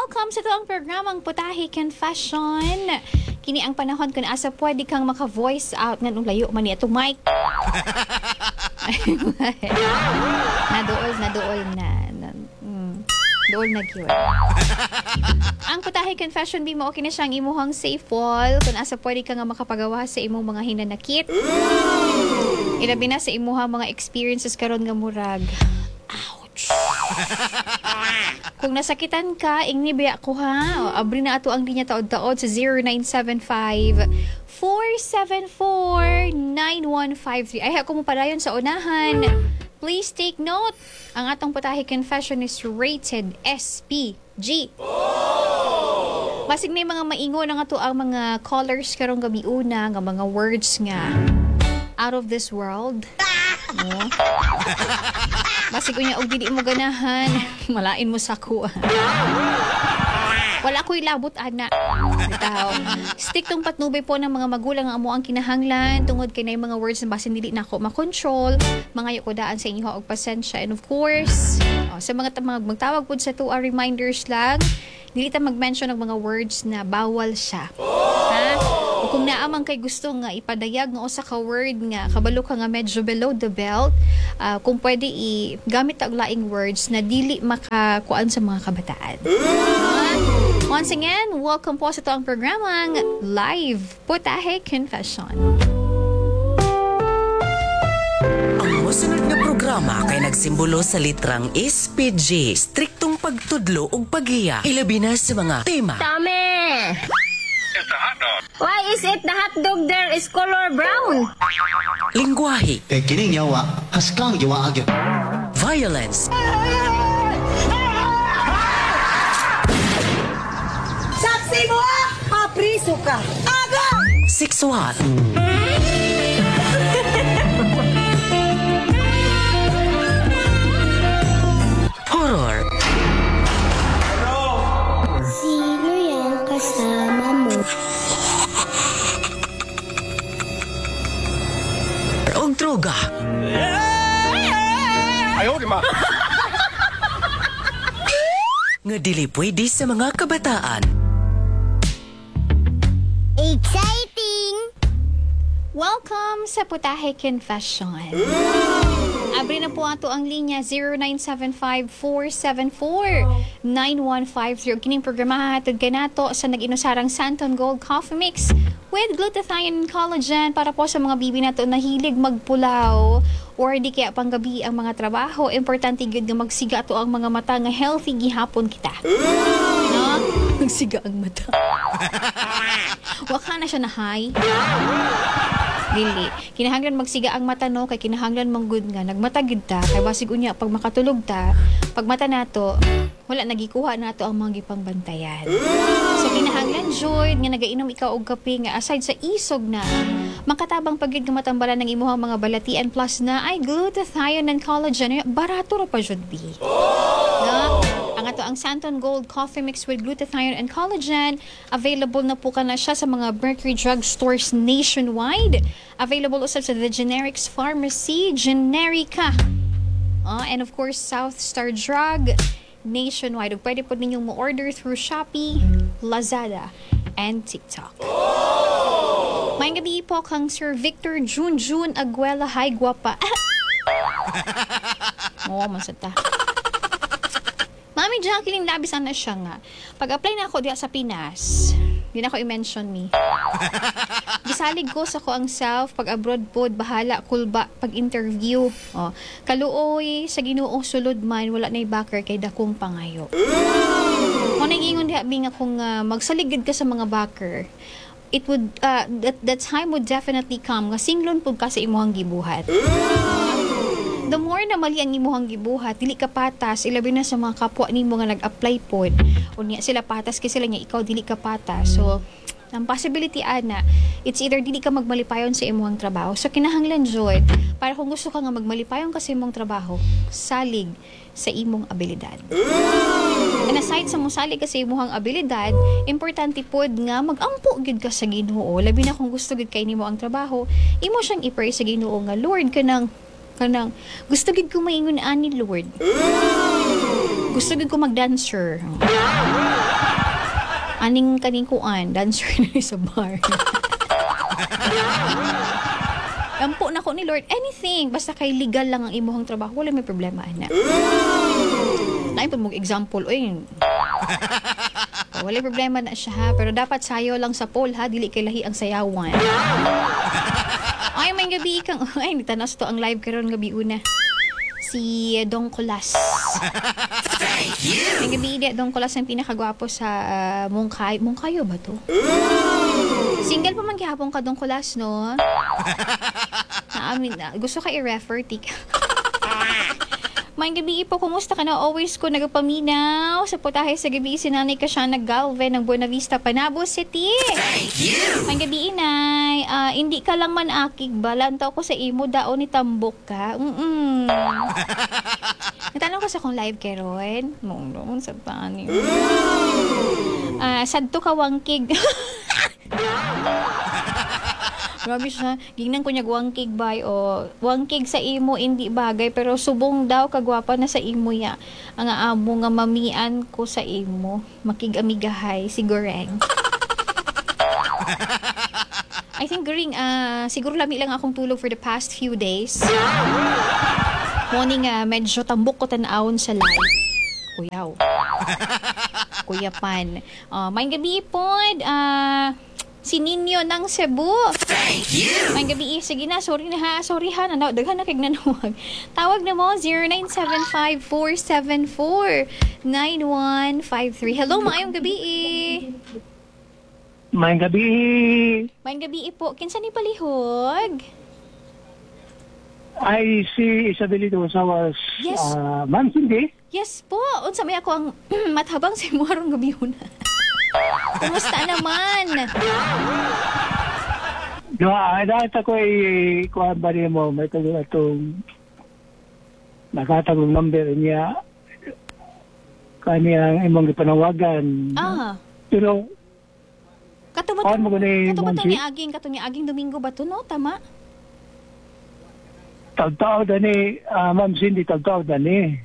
Welcome sa atoang programang Putahe Confession. Kini ang panahon kung asa pwede kang maka-voice out nganong layo man ni atong mic. Naduol, naduol na. Duol na gyud. Ang Putahe Confession, bi mo okay na siyang imuhang safe wall kung asa pwede ka nga makapagawa sa imong mga hinanakit. Ilabi na sa imuhang mga experiences karon nga murag ouch. Kung nasakitan ka, ingni biya ko ha. O, abri na ato ang linya taod-taod sa 0975 474 9153. Ay, ako mo padayon sa unahan. Please take note. Ang atong Putahe Confession is rated SPG. Basig na mga maingon ang ato ang mga callers karong gabi una nga mga words nga out of this world. No? Basig unya og dili mo ganahan, malain mo sa ko. Wala ko'y labot ana. Bitaw. Stick tong patnubay po ng mga magulang ang amo ang kinahanglan tungod kay na mga words na basin dili nako makontrol. Mangayo ko daan sa inyo og pasensya, and of course, oh, sa mga magtawag pud sa tuwa, reminders lang, dili ta mag-mention ng mga words na bawal siya. Ha? O kung naamang kay gusto nga ipadayag nga usa ka word nga kabalo ka nga medyo below the belt, kung pwede i gamit og laing words na dili makakuan sa mga kabataan. Once again, welcome po sa atoang programang Live Putahe Confession. Ang mosunod nga programa kay nagsimbolo sa litrang SPG, striktong pagtudlo ug paghiya, ilabi na sa mga tema. Tame! Why is it the hot dog there is color brown? Lingwahe, Kay kining yawa, haskang yawa agad. Violence, Saksi mo ah! Papriso ka! Aga! Sexual, horror, Sino yung kasama mo? Og droga. Ayaw, di ma. Nga dili pwede sa mga kabataan. Exciting! Welcome sa Putahe Confession. Abri na po ato ang linya 0975-474-9150. Kining programa hatod kanato sa nag-inusarang Santon Gold Coffee Mix with glutathione and collagen para po sa mga bibi nato na hilig magpulaw or di kaya panggabi ang mga trabaho. Importante gyud nga magsiga ato ang mga mata nga healthy gihapon kita. No? Magsiga ang mata. Waka na siya na high. Dili. Kinahanglan magsiga ang mata, no, kay kinahanglan manggud nga nagmata gid ta kay basig unya pag makatulog ta, pag mata nato wala nagikuha nato ang mga gipangbantayan. So kinahanglan jud nga nagainom ikaw og kape nga aside sa isog na makatabang pagid nga matambalan ng imuhang mga balatian, plus na ay glutathione and collagen, barato ra pa jud bi. No? Ang ato ang Santon Gold Coffee Mix with glutathione and collagen, available na po ka na siya sa mga Mercury Drug stores nationwide. Available usab sa The Generics Pharmacy, Generica. And of course, South Star Drug nationwide. Ug pwede po ninyong mo-order through Shopee, Lazada, and TikTok. Maayong gabi po kang Sir Victor Junjun Aguela. Hi, guwapa. Oo, man sa ta. Mami Jacqueline Labis, ana siya nga. Pag-apply na ako diha sa Pinas, di na ako i-mention me. Gisalig ko sa ko ang self, pag abroad pod, bahala, kulba, pag interview. Oh, kaluoy, sa Ginoo sulod man, wala na'y backer kay dakong pangayo. Kung nagingon diha, bi nga kung magsalig ka sa mga backer, it would, that time would definitely come nga singlon pud ka sa imuhang gibuhat. The more na mali ang imuhang gibuhat, dili ka patas, ilabi na sa mga kapwa nimo nga nag-apply pod. Unya sila patas kay sila nya ikaw dili ka patas. So, ang possibility ana, it's either dili ka magmalipayon sa imuhang trabaho. So kinahanglan jud para kung gusto ka nga magmalipayon ka sa imong trabaho, salig sa imong abilidad. And aside sa mosalig ka sa imuhang abilidad, importante pod nga magampo gyud ka sa Ginoo. Labi na kung gusto gyud kay nimo ang trabaho, imo siyang i-pray sa Ginoo nga Lord, kanang kanang gusto gid ko maingon ani Lord. Gusto gyud ko mag-dancer. Aning kaning kuan, dancer na sa bar. Ampo na ko ni Lord, anything basta kay legal lang ang imuhang trabaho, wala may problema ana. Naay pa mong example, oy. Wala problema na siya ha, pero dapat sayo lang sa pole ha, dili kay lahi ang sayawan. Ay, may gabi kang, ay, nitanas to ang live karon gabi una. Si Dong Colas. Thank you. May gabi di Dong Colas ang pinakagwapo sa Mungkay. Mungkayo ba to? Single pa man gihapon ka, Dong Colas, no? Naamin na. Gusto ka i-refer, tika. May gabi po, kumusta ka na? Always ko nagapaminaw. Sa putahe sa gabi, si Nanay Kasiana Galve ng Buena Vista, Panabo City. Thank you! May gabi, inay. Hindi ka lang man akig ba? Lantaw ko sa imo, dao ni tambok ka. Natanong ko sa kong live keron. Mong sa tani. Sadto ka wangkig. Grabe siya. Gingnan ko niya wangkig bay o wangkig sa imo hindi bagay pero subong daw kagwapa na sa imo ya. Ang amo nga mamian ko sa imo. Makig-amigahay si Goreng. I think Goreng, siguro lami lang akong tulog for the past few days. Morning, medyo tambok ko tan-awon sa live. Kuyaw. Kuya Pan. May gabi pod. Si Ninyo ng Cebu. Thank you! May gabi, sige na, sorry na ha. Sorry ha, daghan na kay nanawag. Tawag na mo, 0975-474-9153. Hello, maayong gabi. Maayong gabi. Maayong gabi po. Kinsa ni palihog? Ay, si Isabelito Osawas. Yes. Ma'am Cindy? Yes po. Unsa may ako ang mathabang sa imo arong gabi una. Kumusta naman? Duha, dahil ako ay kuhan ba niya mo, may tago atong nakatagong number niya kaniyang imong gipanawagan. Pero kato ni aging Domingo ba to, no? Tama? Tagtao dani, Ma'am Cindy, tagtao dani.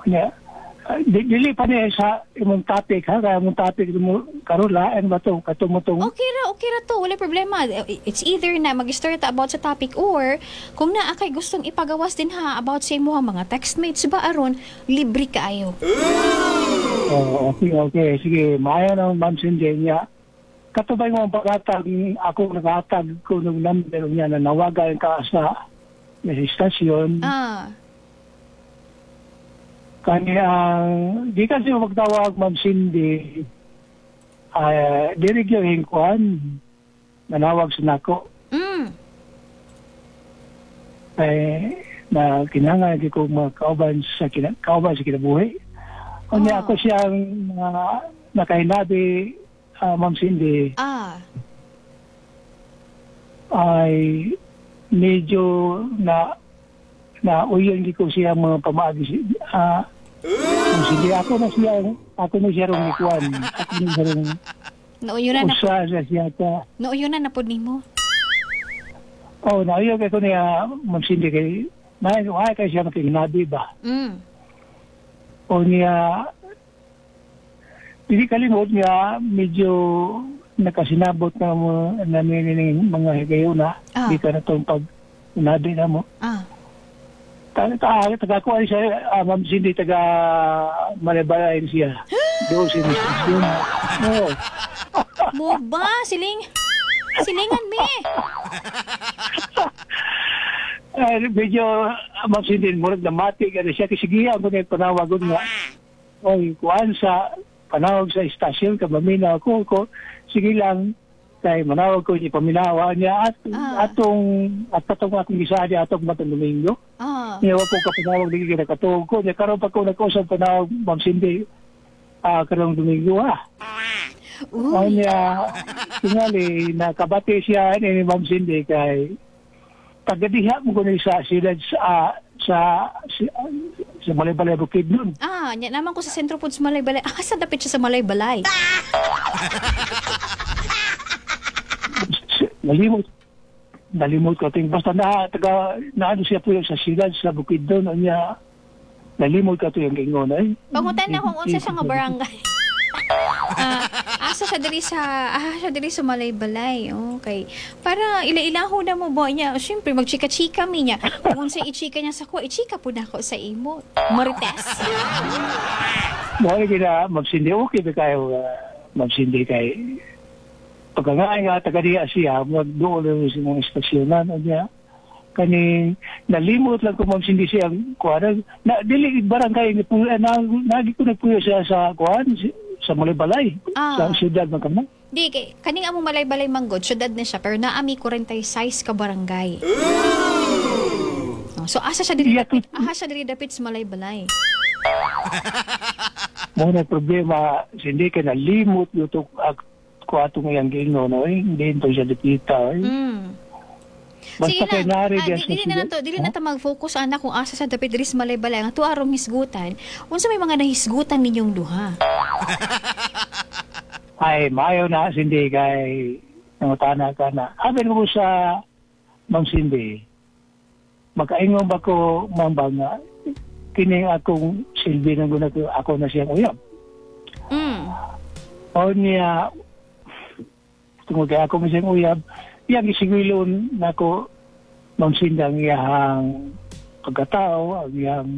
Niya. Dili pa niya sa imong topic ha, kaya imong topic mo karon lain ba to kato mo tong okay ra to, wala problema. It's either na mag-start about sa topic or kung naa kay gustong ipagawas din ha about sa imong mga textmates ba aron libre kaayo. Oh, okay, sige, maayo na Ma'am Cindy niya. Katubay mo ang paghatag, ako naghatag ko ng number niya na nawagan ka sa istasyon. Kani ang di kasi magtawag Ma'am Cindy, diri gyud hingkuan nanawag sa nako. Ay na kinahanglan ko makauban sa kauban sa kinabuhi. Unya ako siyang nakahinabi, Ma'am Cindy. Ay medyo na uyon ko siya mga pamaagi. Sige, ako na siya rong ikuan. Ako na siya rong nauyo na siya ka. Nauyo na pod nimo. Oh, nauyo kay ko niya Ma'am Cindy kay may ay kay siya makignabi ba. O niya dili kalimot niya medyo nakasinabot na namin ning mga higayuna. Di ka na tong pag nabi na mo. Taga ko ay siya, Ma'am Cindy, taga Malaybalay siya. Doon si Mr. Yun. No. Mo ba? Silingan me. Medyo, Ma'am Cindy, murag na matik. Ano siya, kasi ako na panawagon nga. Oy, kuan sa, panawag sa istasyon, kabaminaw ko, sige lang, kay manawag ko niya, paminawa niya, at atong, at patong akong gisadi, atong matong Domingo. Niya ko kapanawag, di kinakatuog ko. Niya, karoon pa ko nagkausap panawag, Ma'am Cindy, karong Domingo, ha. Niya, tingali, nakabati siya ni Ma'am Cindy, kay tagadiha mo ko niya sa sila sa Malaybalay Bukid nun. Niya naman ko sa sentro po sa Malaybalay. Sa dapit siya sa Malaybalay. Nalimot ko ting basta na taga naano siya po sa sila sa Bukid doon niya. Nalimot ka to yung ingon ay. Pangutan na kung unsa siya nga barangay. Ah, asa siya diri sa Malaybalay. Okay. Para ila-ilaho na mo ba niya. Syempre magchika-chika mi niya. Kung unsa ichika niya sa ko, ichika pud nako sa imo. Marites. Mo gina magsindi, okay ba kayo magsindi kay pagka nga taga diya siya magduol lang sa mga estasyonan o niya kani nalimot lang ko magsindi siya kuan na dili barangay ni na nagi ko nagpuyo siya sa kuan sa Malaybalay sa siyudad man kamo. Di kay kaning among Malaybalay manggod, syudad na siya pero naami 46 ka barangay. Oh, so asa siya diri Iya, dapit, asa siya diri dapit sa Malaybalay. Mo na problema hindi kay nalimot yung to ko atong iyang giingon, no, eh, hindi to siya dipita eh. Basta Sige kay lang. nari Ah, diyan sa dili na siyudad. nato, dili na ta mag-focus ana kung asa sa dapit diri sa Malaybalay. Ang ato arong hisgutan, unsa may mga nahisgutan ninyong duha? Ay, maayo na, Cindy, kay nangutana ka na. Abi ko sa Ma'am Cindy, makaingon ba ko, Ma'am ba nga, kini akong silbi ng guna ko, ako na siyang uyab. O niya, tungod kay ako siyang uyab, iyang isigilon nako, Ma'am Cindy, ang iyang pagkatao, ang iyang